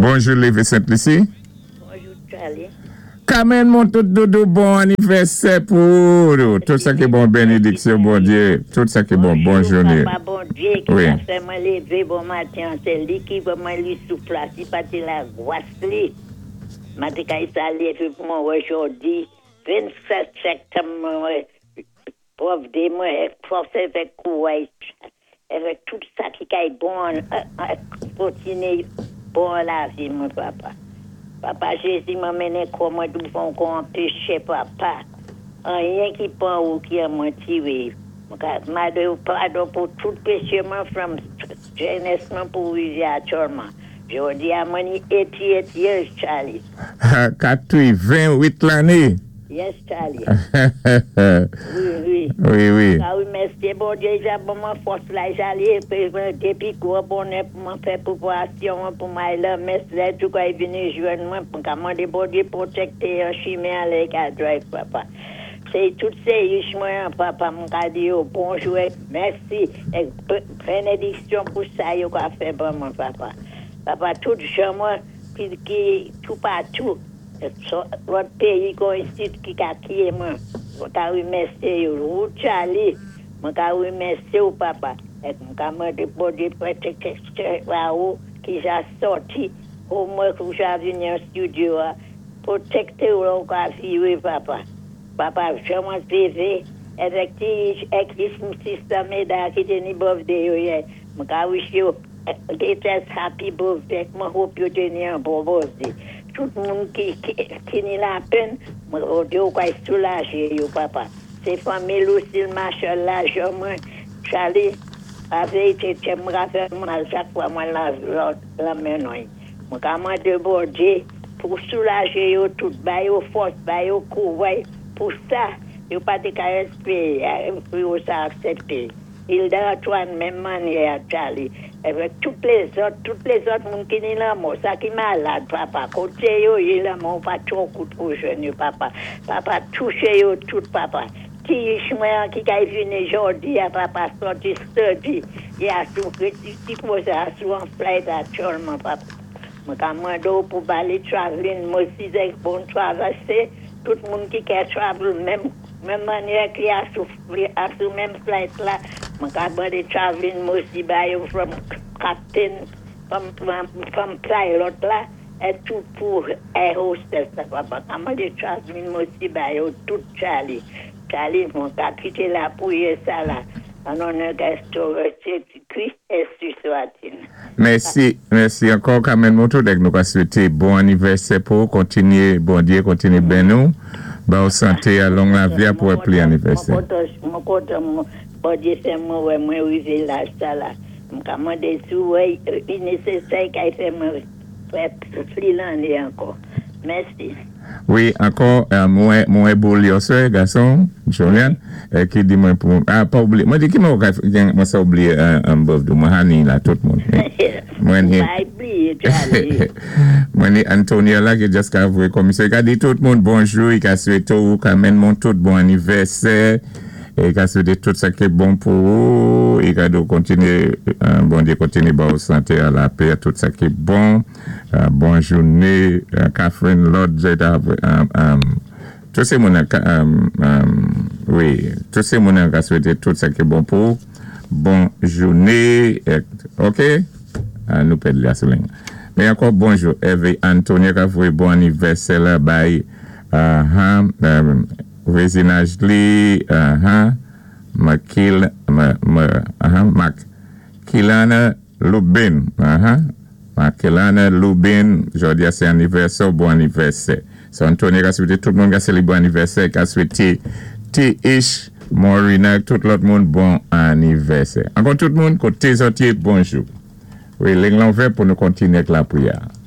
Bonjou Lévé Sent Lisi. Bonjou Charly. Carmen Montout doudou bon anivèsè pou ou tout sa ki bon benediksyon Bondye tout sa ki bon bon Bonjou joune papa Bondye ki wi. ta fè mwen lévé bon maten an sé li ki ban mwen li souf la si pa té la gwas li ma té ka sa lévé pou mwen wè jòdi 27 sèktanm mwen wè Birthday mwen èk fòs èvèk kouray èvèk tout sa ki kay bon an kontiné bon an lavi mwen papa papa jezi mwen mennen kò mwen douvan w kon an pechè papa anyen ki pan ou ki an mwen tire mwen ka made w padon pou tout peche mwen from jènès mwen pou rive atyòlman jodi a mwen ni 88 years Charlie. 88 lane. Yes Charlie wi wi Wi wi. Sa remèsye Bondye ja ban mwen fòs la ja leve mwen depi gwo bonè pou mwen fè preparasyon an pou m al lan mès lè Djoukay vini jwenn mwen pou m ka mande Bondye pwotekte an chimen an lè l ka drive papa se tout se ish mwen an papa m ka di yo bonjou èk mèsi èk benediksyon pou sa yo ka fè ban mwen papa papa tout jan mwen ki toupatou. Lòt péyi kon isit ki ka kiye mwen, mwen ka rimèsyé yo wou Tchaly, mwen ka rimèsyé w papa èk m ka mande Bondye pwoteksyon ba ou ki ja sòti pou mwen kou ja vini an studio a pwotekte w lè w ka viré papa papa jan mwen t lévé èvèk ti èk sista Meda ki té ni birthday yo yè m ka wish yo Latest happy birthday mwen hope yo te ni an bon birthday tout moun ki ni lapenn mwen Bondye ou kay soulaje yo papa se fanmi Lucille Marshall la jan mwen Charly la vérité tèm mwen ka fè mal chak fwa mwen lan men nou mwen ka mande Bondye pou soulaje yo tout ba yo fòs ba yo kouray pou sa yo pa te ka espere pou yo sa aksepte. Hilda Antoine menm mannyè ak Charly avèk tout lezòt tout lezòt moun ki ni lanmò sa ki malad papa kote yo ye lanmò pa twò kout pou jwenn yo papa papa touche yo tout papa ti ish mwen an ki kay vini jòdi a papa sòti sturdy e a sou ti koze a sou an flight aktyòlman papa mwen ka mande w pou bali traveling mercies ak bon travèse tout moun ki kè travel menm Menm mannyè ki a sou a sou menm flight la mwen ka mande traveling mercy ba yo from captain from from pilot la et tout pou air hostess la papa ka mande traveling mercy ba yo tout Charlie Charlie mwen ka kite la priyè sa la an onè Jezi Kris ensi swatil. Mèsi mèsi ankò Carmen Moto dèk nou ka swete bon anivèsè pou ou kontinye Bondye kontinye beni w ba w sante a long lavi a pou wè pli anivèsè. Mwen kontan Bondye fè mwen wè mwen rive laj sa la m ka mande si w wè li nesesè kay fè mwen fè pli lanne ankò mèsi. Wi ankò mwen mwen boul yon sè gason Jolian ki di mwen pou ah pa oubliye mwen di ki mwen ka gen mwen sa oubliye birthday mwen honey la tout moun mwen ni mwen ni Antonia la ki just ka voye komisè ka di tout moun bonjou i ka swete ou ka menn moun tout bon anivèsè e ka swete tout sa ki bon pou ou i ka di ou kontinye Bondye kontinye ba ou sante a lapè tout sa ki bon. Bon joune Catherine lòt jeta tout se moun wi tout se moun ka swete tout sa ki bon pou bon joune ok nou pèdi la sou ligne men ankò bonjou Hervé Antonio ka voye bon anivèsè la bay vwezinaj li Makilana Lubin aha Makelana Lubin jodi a se anivèsè w bon anivèsè Sè Antonia ka swete tout moun ka selebre anivèsè ka swete TH Morina ak tout lòt moun bon anivèsè ankò tout moun kote zòt ye bonjou wi ling lan ouvè pou nou kontinye ak lapriyè a.